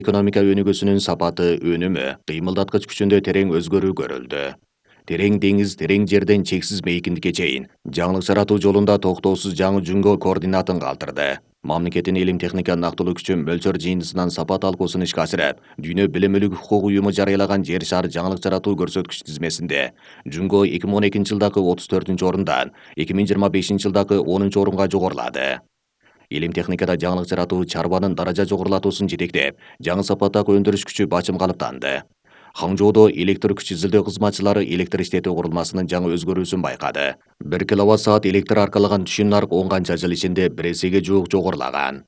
Экономика өнүгүүсүнүн сапаты, өнүмү, кыймылдаткыч күчүндө терең өзгөрүү көрүлдү. Терең деңиз, терең жерден чексиз мейкиндикке чейин жаңылык жаратуу жолунда токтоосуз жаңы жөнгө координатын калтырды. Мамлекеттин илим техника нактылуу күчү мөлчөр жыйындысынан сапат алкуусун ишке ашырып, Дүйнө Билим укук уюму жарыялаган жер шары жаңылык жаратуу көрсөткүч тизмесинде Жөнгө 2012 жылдагы 34 орундан 2025 жылдагы 10 орунга жогорулады. Илим техникада жаңылык жаратуу чарбанын даража жогорулатуусун жетектеп, жаңы сапаттагы өндүрүш күчү бачым калыптанды. Хаңжоодо электр күч изилдөө кызматчылары электр иштетүү курулмасынын жаңы өзгөрүүсүн байкады. 1 киловатт-саат электр аркалаган түшүм нарк 10 канча жыл ичинде 1 эсеге жуук жогорулаган.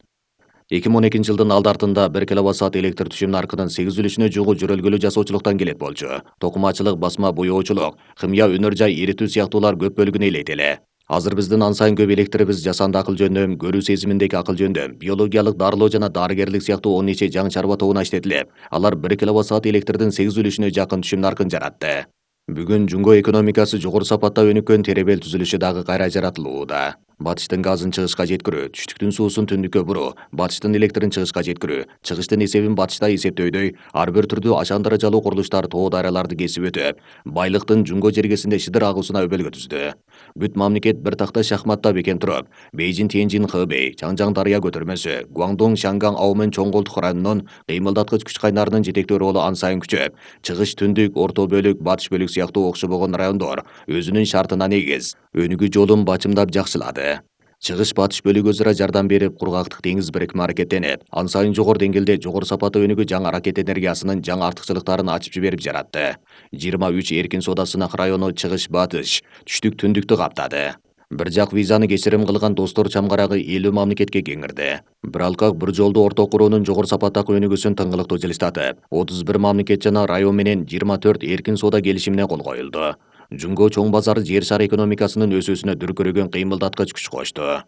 2012 жылдын алды артында 1 киловатт-саат электр түшүм наркынын 8 үлүшүнө жугу жөрөлгөлүү жасоочулуктан келет болчу. Токумачылык, басма боёочулук, химия, өнөр жай эритүү сыяктуулар көп бөлүгүн ээлейт эле. Азыр биздин ан сайын көп электрибиз жасанды акыл жөндөм, көрүү сезиминдеги акыл жөндөм, биологиялык дарылоо жана дарыгерлик сыяктуу 10 нече жаңы чарба тобуна иштетилип, алар 1 киловатт-саат электрдин 8 үлүшүнө жакын түшүм наркын жаратты. Бүгүн Жөнгө экономикасы жогору сапатта өнүккөн теребел түзүлүшү дагы кайра жаратылууда. Батыштын газын чыгышка жеткирүү, түштүктүн суусун түндүккө буруу, батыштын электрин чыгышка жеткирүү, чыгыштын эсебин батышта эсептөөдөй ар бир түрдүү ашан даражалуу курулуштар тоо даряларды кесип өтүп, байлыктын Жөнгө жергесинде шыдыр агуусуна өбөлгө түздү. Бүт мамлекет бир такта шахматта бекем туруп, Бейжин, Тяньжин, Хэбэй, Чаңжаң дарыя көтөрмөсү, Гуандong, Шанган, Аумен, чоң колтук районунун кыймылдаткыч күч кайнарынын жетектөө ролу ан сайын күчөп, чыгыш түндүк, орто бөлүк, батыш бөлүк сыяктуу окшобогон райондор өзүнүн шартына негиз өнүгүү жолун бачымдап жакшылады. Чыгыш батыш бөлүгү өзара жардам берип, кургактык деңиз бирикме аракеттенип, ан сайын жогору деңгээлде жогору сапаттуу өнүгүү жаңы ракет энергиясынын жаңы артыкчылыктарын ачып жиберип жаратты. 23 эркин соода сынак району чыгыш батыш, түштүк түндүктү каптады. Бир жак визаны кечирим кылган достор чамгарагы 50 мамлекетке кеңирди. Бир алкак бир жолду орто куруунун жогору сапаттагы өнүгүүсүн тыңгылыктуу жылыштатып, 31 мамлекет жана район менен 24 эркин соода келишимине кол коюлду. Жөнгө чоң базары жер шары экономикасынын өсүүсүнө дүркүрөгөн кыймылдаткыч күч кошту.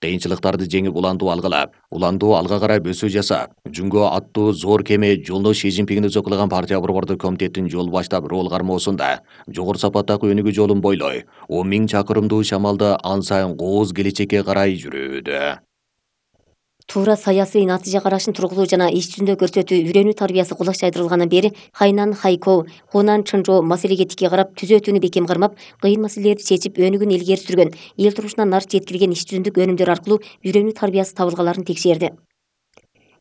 Кыйынчылыктарды жеңип уландуу алга карай өсүү жасап, Жөнгө аттуу зор кеме жолдо Ши Цзиньпиңди өзөклаган партия борбордук комитеттин жол баштап рол кармоосунда жогору сапаттагы өнүгүү жолун бойлой 10 000 чакырымдуу шамалда ан сайын кооз келечекке карай жүрүүдө. Туура саясий натыйжа карашын тургузуу жана иш жүзүндө көрсөтүү үйрөнүү тарбиясы кулак чайдырылгандан бери Хайнан, Хайкоу, Хунан, Чынжоо маселеге тикке карап, түзөтүүнү бекем кармап, кыйын маселелерди чечип, өнүгүүнү илгери сүргөн, эл турмушуна нарт жеткирген иш жүзүндүк өнүмдөр аркылуу үйрөнүү тарбиясы табылгаларын текшерди.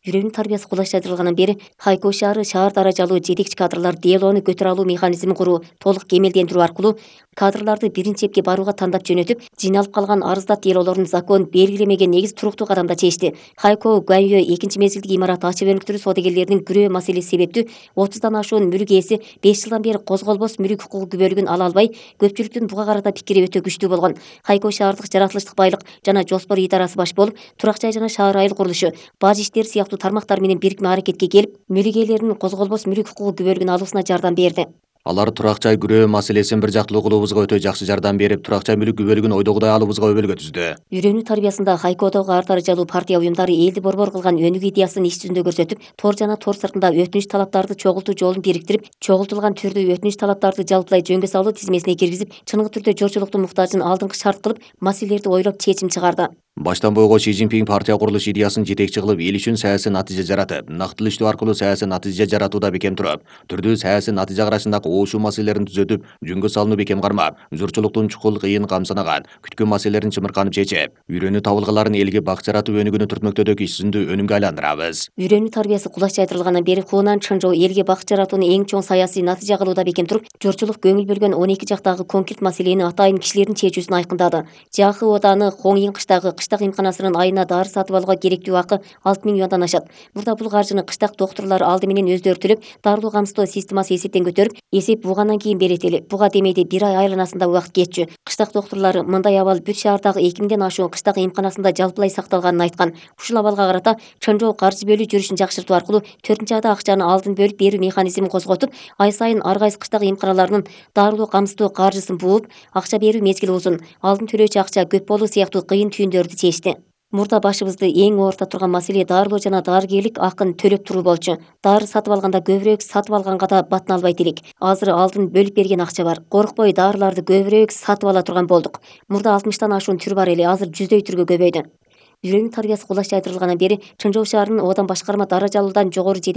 Үйрөнүү тарбиясы кулак чайдырылгандан бери Хайкоу шаары шаар даражалуу жетекчи кадрлар делоону көтөрө алуу механизмин куруу, толук кемелдендирүү аркылуу кадрларды биринчи эпке барууга тандап жөнөтүп, жыйналып калган арыздат делоолорун закон белгилемеген негиз туруктуу кадамда чечти. Хайкоу Гуаньё экинчи мезгилдик имарат ачык өнүктүрүү саудагерлеринин күрөө маселеси себептүү 30дан ашуун мүлк ээси 5 жылдан бери козголбос мүлк укугу күбөлүгүн ала албай, көпчүлүктүн буга карата пикири өтө күчтүү болгон. Хайкоу шаардык жаратылыштык байлык жана жоспор идарасы баш болуп, турак жай жана шаар айыл курулушу, баж иштери сыяктуу тармактар менен бирикме аракетке келип, мүлк ээлеринин козголбос мүлк укугу күбөлүгүн алуусуна жардам берди. Алар турак жай күрөө маселесин бир жактылуу кылуубузга өтө жакшы жардам берип, турак жай мүлк күбөлүгүн ойдогудай алуубузга өбөлгө түздү. Үйрөнүү тарбиясында Хайкоодогу ар даражалуу партия уюмдары элди борбор кылган өнүгүү идеясын иш жүзүндө көрсөтүп, тор жана тор сыртында өтүнүч талаптарды чогултуу жолун бириктирип, чогултулган түрдүү өтүнүч талаптарды жалпылай жөнгө салуу тизмесине киргизип, чыныгы түрдө жорчулуктун муктажын алдыңкы шарт кылып, маселелерди ойлоп чечим чыгарды. Баштан бойго Ши Цзиньпиң партия курулуш идеясын жетекчи кылып, эл үчүн саясий натыйжа жаратып, нактылуу иштөө аркылуу саясий натыйжа жаратууда бекем туруп, түрдүү саясий натыйжа карашындагы оошуу маселелерин түзөтүп, жөнгө салууну бекем кармап, журтчулуктун чукул кыйын камсынаган, күткөн маселелерин чымырканып чечип, үйрөнүү табылгаларын элге бак жаратуу өнүгүүнү түртмөктөөдөгү иш жүзүндө өнүмгө айландырабыз. Үйрөнүү тарбиясы кулак чайдырылгандан бери Хунан, Чынжоо элге бак жаратууну эң чоң саясий натыйжа кылууда бекем туруп, журтчулук көңүл бөлгөн 12 жактагы конкрет маселени атайын кишилердин чечүүсүн айкындады. Жахы Ооданы Хоңин кыштак эмканасынын айына дары сатып алууга керектүү акы 6 000 юандан ашат. Мурда бул каржыны кыштак доктурлар алды менен өздөрү төлөп, дарылоо камсыздоо системасы эсептен көтөрүп, эсеп бугандан кийин берет эле. Буга демейде 1 ай айланасында убакыт кетчү. Кыштак доктурлары мындай абал бүт шаардагы 2000ден ашуун кыштак эмканасында жалпылай сакталганын айткан. Ушул абалга карата Чынжоо каржы бөлүү жүрүшүн жакшыртуу аркылуу 4-айда акчаны алдын бөлүп берүү механизмин козготуп, ай сайын ар кайсы кыштак эмканаларынын дарылоо камсыздоо каржысын бууп, акча берүү мезгили узун, алдын төлөөчү акча көп болуу сыяктуу кыйын түйүндөрдү чечти. Мурда башыбызды эң оорта турган маселе дарылоо жана дарыгерлик акын төлөп туруу болчу. Дары сатып алганда көбүрөөк, сатып алганга да батына албайт элек. Азыр алдын бөлүп берген акча бар. Коркпой дарыларды көбүрөөк сатып ала турган болдук. Мурда 60тан ашуун түр бар эле, азыр 100дөй түргө көбөйдү. Үйрөнүү тарбиясы кулак чайдырылгандан бери Чынжоо шаарынын Оодан башкарма даражалуудан жогору жетекчи